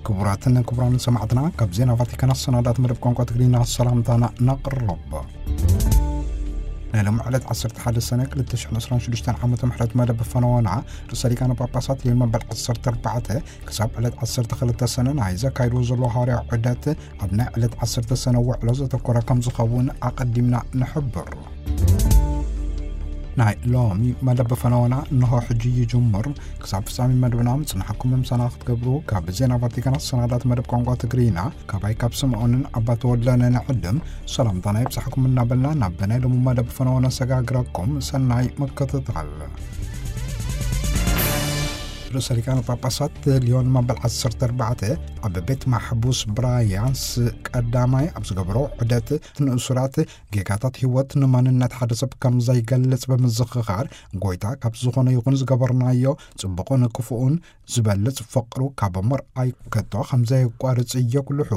ክቡራትን ክቡራን ሰማዕትና፣ ካብ ዜና ቫቲካን ኣሰናዳት መደብ ቋንቋ ትግርኛ ሰላምታና ነቕርብ። ናይ ሎም ዕለት ዓሰርተ ሓደ ሰነ ክልተ ሽሕን ዕስራን ሽዱሽተን ዓመተ ምሕረት መደብ ፈነወና ርእሰ ሊቃነ ጳጳሳት ሊዮን መበል ዓሰርተ ኣርባዕተ ክሳብ ዕለት ዓሰርተ ክልተ ሰነ ናይ ዘካይድዎ ዘሎ ሃዋርያዊ ዑደት ኣብ ናይ ዕለት ዓሰርተ ሰነ ውዕሎ ዘተኮረ ከም ዝኸውን ኣቐዲምና ንሕብር። ናይ ሎሚ መደብ ፈነወና እንሆ ሕጂ ይጅምር። ክሳብ ፍጻሜ መደብና ምጽናሕኩም ምሳና ክትገብሩ ካብ ዜና ቫቲካን ኣሰናዳት መደብ ቋንቋ ትግርኛ ካባይ ካብ ስምዖንን ኣባ ተወልደን ንዕድም ሰላምታና ይብጻሕኩም እናበልና ናብ ናይ ሎሚ መደብ ፈነወና ሰጋግረኩም። ሰናይ ምክትታል። ርእሰ ሊቃነ ጳጳሳት ሊዮን መበል ዓሰርተ ኣርባዕተ ኣብ ቤት ማሕቡስ ብራያንስ ቀዳማይ ኣብ ዝገበሮ ዑደት ንእሱራት ጌጋታት ህይወት ንማንነት ሓደ ሰብ ከም ዘይገልጽ ብምዝኽኻር፣ ጎይታ ካብ ዝኾነ ይኹን ዝገበርናዮ ጽቡቕን ክፉኡን ዝበልጽ ፍቕሩ ካብ ምርኣይ ከቶ ከም ዘየቋርጽ የጉልሑ።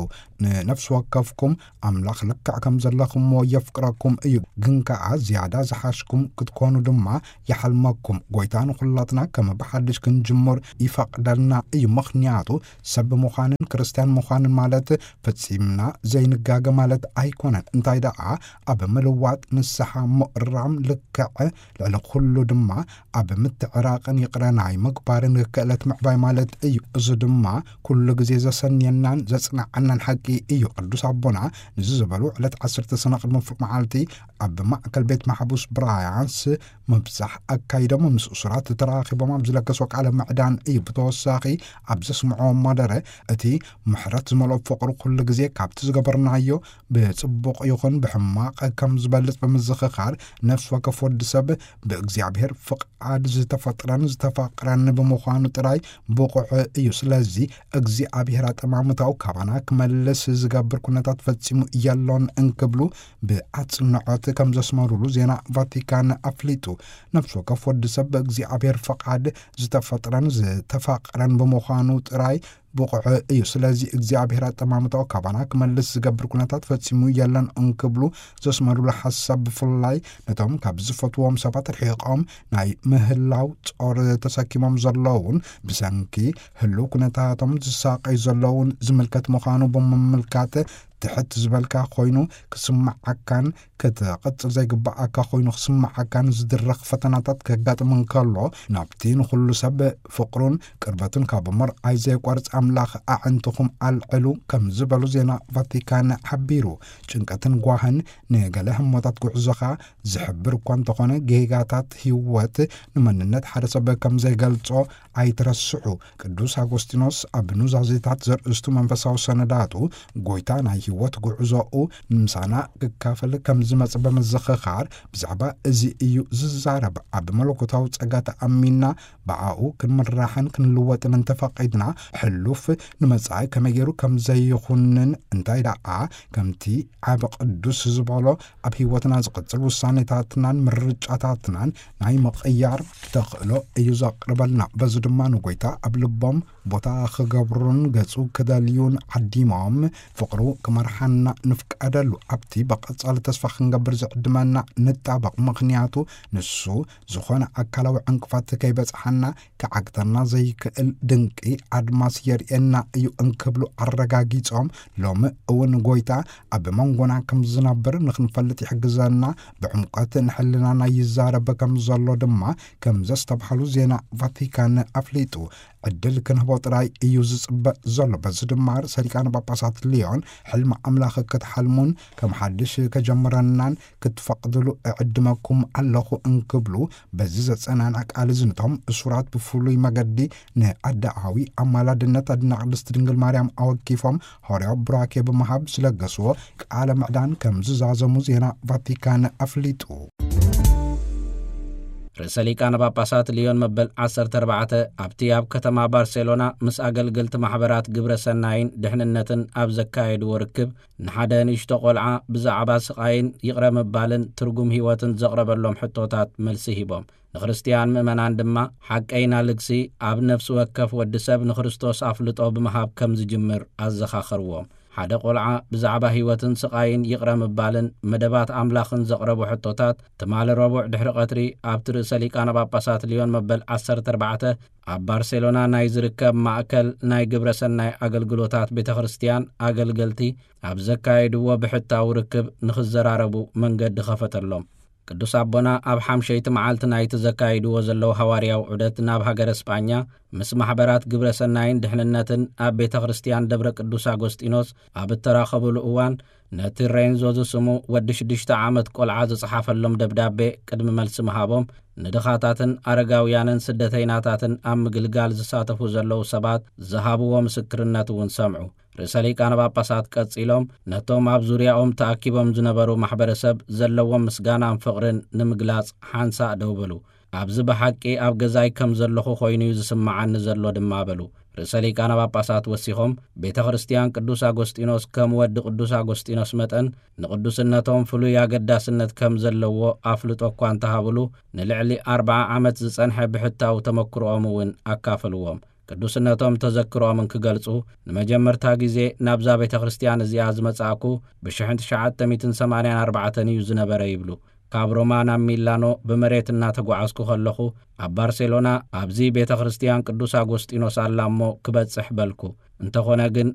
ንነፍሲ ወከፍኩም ኣምላኽ ልክዕ ከም ዘለኹምዎ የፍቅረኩም እዩ፣ ግን ከኣ ዝያዳ ዝሓሽኩም ክትኮኑ ድማ ይሓልመኩም። ጎይታ ንኹላትና ከም ብሓድሽ ክንጅምር ይፈቕደልና እዩ፣ ምኽንያቱ ሰብ ምዃንን ክርስትያን ምዃንን ማለት ፈጺምና ዘይንጋገ ማለት ኣይኮነን። እንታይ ደኣ፣ ኣብ ምልዋጥ፣ ንስሓ፣ ምእራም፣ ልክዕ ልዕሊ ኩሉ ድማ ኣብ ምትዕራቕን ይቕረ ናይ ምግባርን ክእለት ምዕባይ ማለት እዩ። እዚ ድማ ኩሉ ግዜ ዘሰንየናን ዘጽንዓናን ሓቂ እዩ። ቅዱስ ኣቦና ንዚ ዝበሉ ዕለት ዓሰርተ ሰነ ቅድሚ ፍሉቕ መዓልቲ ኣብ ማእከል ቤት ማሕቡስ ብራያንስ ምብጻሕ ኣካይዶም፣ ምስ እሱራት ተራኺቦም ኣብ ዝለገስዎ ቃለ ምዕዳን እዩ። ብተወሳኺ ኣብ ዘስምዕዎ መደረ፣ እቲ ምሕረት ዝመልኦ ፍቕሩ ኩሉ ግዜ ካብቲ ዝገበርናዮ ብጽቡቕ ይኹን ብሕማቕ ከም ዝበልጽ ብምዝኽኻር፣ ነፍሲ ወከፍ ወዲ ሰብ ብእግዚኣብሔር ፍቓድ ዝተፈጥረን ዝተፋቕረን ብምዃኑ ጥራይ ብቑዕ እዩ። ስለዚ እግዚኣብሔር ኣጠማምታኡ ካባና ክመልስ ዝገብር ኩነታት ፈጺሙ የሎን እንክብሉ ብኣጽንዖት ከም ዘስመሩሉ ዜና ቫቲካን ኣፍሊጡ። ነፍሲ ወከፍ ወዲ ሰብ ብእግዚኣብሔር ፍቓድ ዝተፈጥረን ዝተፋቕረን ብምዃኑ ጥራይ ብቑዕ እዩ። ስለዚ እግዚኣብሔር ኣጠማምታኡ ካባና ክመልስ ዝገብር ኩነታት ፈጺሙ የለን እንክብሉ ዘስመሩሉ ሓሳብ፣ ብፍላይ ነቶም ካብ ዝፈትዎም ሰባት ርሒቖም ናይ ምህላው ጾር ተሰኪሞም ዘለውን ብሰንኪ ህልው ኩነታቶም ዝሳቐዩ ዘለውን ዝምልከት ምዃኑ ብምምልካት፣ ትሕት ዝበልካ ኮይኑ ክስምዓካን ክትቕጽል ዘይግብኣካ ኮይኑ ክስምዓካን ዝድረኽ ፈተናታት ከጋጥም እንከሎ፣ ናብቲ ንኹሉ ሰብ ፍቕሩን ቅርበቱን ካብ ምርኣይ ዘየቋርጽ ኣምላኽ ኣዕንትኹም ኣልዕሉ ከም ዝበሉ ዜና ቫቲካን ሓቢሩ። ጭንቀትን ጓህን ንገለ ህሞታት ጉዕዞኻ ዝሕብር እኳ እንተኾነ፣ ጌጋታት ህይወት ንመንነት ሓደ ሰብ ከም ዘይገልጾ ኣይትረስዑ። ቅዱስ ኣጎስቲኖስ ኣብ ኑዛዜታት ዘርእስቱ መንፈሳዊ ሰነዳቱ፣ ጎይታ ናይ ህይወት ጉዕዞኡ ንምሳና ክካፈል ከም ዝመጽእ ብምዝኽኻር፣ ብዛዕባ እዚ እዩ ዝዛረብ። ኣብ መለኮታዊ ጸጋ ተኣሚንና ብኣኡ ክንምራሕን ክንልወጥን እንተፈቒድና፣ ሕሉፍ ንመጻኢ ከመይ ገይሩ ከም ዘይኹንን፣ እንታይ ደኣ ከምቲ ዓቢ ቅዱስ ዝበሎ ኣብ ህይወትና ዝቕጽል ውሳኔታትናን ምርጫታትናን ናይ ምቕያር ተኽእሎ እዩ ዘቕርበልና። በዚ ድማ ንጎይታ ኣብ ልቦም ቦታ ክገብሩን ገጹ ክደልዩን ዓዲሞም ፍቕሩ ክመርሓና ንፍቀደሉ። ኣብቲ ብቐጻሊ ተስፋ ክንገብር ዝዕድመና ንጣበቕ፣ ምኽንያቱ ንሱ ዝኾነ ኣካላዊ ዕንቅፋት ከይበጽሓና ክዓግተና ዘይክእል ድንቂ ኣድማስ የርእየና እዩ እንክብሉ ኣረጋጊጾም፣ ሎሚ እውን ጎይታ ኣብ መንጎና ከም ዝነብር ንኽንፈልጥ ይሕግዘና፣ ብዕምቆት ንሕልናና ይዛረብ ከም ዘሎ ድማ ከም ዘስተብሃሉ ዜና ቫቲካን ኣፍሊጡ። ዕድል ክንህቦ ጥራይ እዩ ዝጽበ ዘሎ። በዚ ድማ ርእሰ ሊቃነ ጳጳሳት ሊዮን ሕልሚ ኣምላኽ ክትሓልሙን ከም ሓድሽ ከጀምረናን ክትፈቕድሉ እዕድመኩም ኣለኹ እንክብሉ፣ በዚ ዘጸናንዕ ቃል እዚ ነቶም እሱራት ብፍሉይ መገዲ ንኣደኣዊ ኣማላድነት ኣድና ቅድስት ድንግል ማርያም ኣወኪፎም ሃዋርያዊ ቡራኬ ብምሃብ ዝለገስዎ ቃለ ምዕዳን ከም ዝዛዘሙ ዜና ቫቲካን ኣፍሊጡ። ርእሰ ሊቃነ ጳጳሳት ሊዮን መበል ዓሰርተ ኣርባዕተ ኣብቲ ኣብ ከተማ ባርሴሎና ምስ ኣገልገልቲ ማሕበራት ግብረ ሰናይን ድሕንነትን ኣብ ዘካየድዎ ርክብ፣ ንሓደ ንእሽቶ ቆልዓ ብዛዕባ ስቓይን ይቕረ ምባልን ትርጉም ህይወትን ዘቕረበሎም ሕቶታት መልሲ ሂቦም። ንክርስትያን ምእመናን ድማ ሓቀይና ልግሲ ኣብ ነፍሲ ወከፍ ወዲ ሰብ ንክርስቶስ ኣፍልጦ ብምሃብ ከም ዝጅምር ኣዘኻኸርዎም። ሓደ ቆልዓ ብዛዕባ ህይወትን ስቓይን ይቕረ ምባልን መደባት ኣምላኽን ዘቕረቡ ሕቶታት ትማሊ ረቡዕ ድሕሪ ቀትሪ ኣብቲ ርእሰ ሊቃነ ጳጳሳት ሊዮን መበል ዓሰርተ ኣርባዕተ ኣብ ባርሴሎና ናይ ዝርከብ ማእከል ናይ ግብረ ሰናይ ኣገልግሎታት ቤተ ክርስቲያን ኣገልገልቲ ኣብ ዘካየድዎ ብሕታዊ ርክብ ንኽዘራረቡ መንገዲ ኸፈተሎም። ቅዱስ ኣቦና ኣብ ሓምሸይቲ መዓልቲ ናይቲ ዘካይድዎ ዘለዉ ሃዋርያዊ ዑደት ናብ ሃገረ ስጳኛ ምስ ማሕበራት ግብረ ሰናይን ድሕንነትን ኣብ ቤተ ክርስቲያን ደብረ ቅዱስ ኣጎስጢኖስ ኣብ እተራኸቡሉ እዋን ነቲ ሬንዞ ዝስሙ ወዲ ሽዱሽተ ዓመት ቆልዓ ዝጸሓፈሎም ደብዳቤ ቅድሚ መልሲ ምሃቦም ንድኻታትን ኣረጋውያንን ስደተይናታትን ኣብ ምግልጋል ዝሳተፉ ዘለዉ ሰባት ዝሃብዎ ምስክርነት እውን ሰምዑ። ርእሰ ሊቃነ ጳጳሳት ቀጺሎም ነቶም ኣብ ዙርያኦም ተኣኪቦም ዝነበሩ ማሕበረሰብ ዘለዎም ምስጋናን ፍቕርን ንምግላጽ ሓንሳእ ደው በሉ። ኣብዚ ብሓቂ ኣብ ገዛይ ከም ዘለኹ ኮይኑ እዩ ዝስምዓኒ ዘሎ ድማ በሉ። ርእሰ ሊቃነ ጳጳሳት ወሲኾም ቤተ ክርስቲያን ቅዱስ ኣጎስጢኖስ ከም ወዲ ቅዱስ ኣጎስጢኖስ መጠን ንቅዱስነቶም ፍሉይ ኣገዳስነት ከም ዘለዎ ኣፍልጦ እኳ እንተሃብሉ ንልዕሊ ኣርብዓ ዓመት ዝጸንሐ ብሕታዊ ተመክሮኦም እውን ኣካፈልዎም። ቅዱስነቶም ተዘክሮምን ክገልጹ ንመጀመርታ ግዜ ናብዛ ቤተ ክርስቲያን እዚኣ ዝመጻእኩ ብ ትሽዓተ ሚእትን ሰማንያን ኣርባዕተን እዩ ዝነበረ ይብሉ። ካብ ሮማ ናብ ሚላኖ ብመሬት እናተጓዓዝኩ ከለኹ ኣብ ባርሴሎና ኣብዚ ቤተ ክርስቲያን ቅዱስ ኣጎስጢኖስ ኣላ እሞ ክበጽሕ በልኩ። እንተኾነ ግን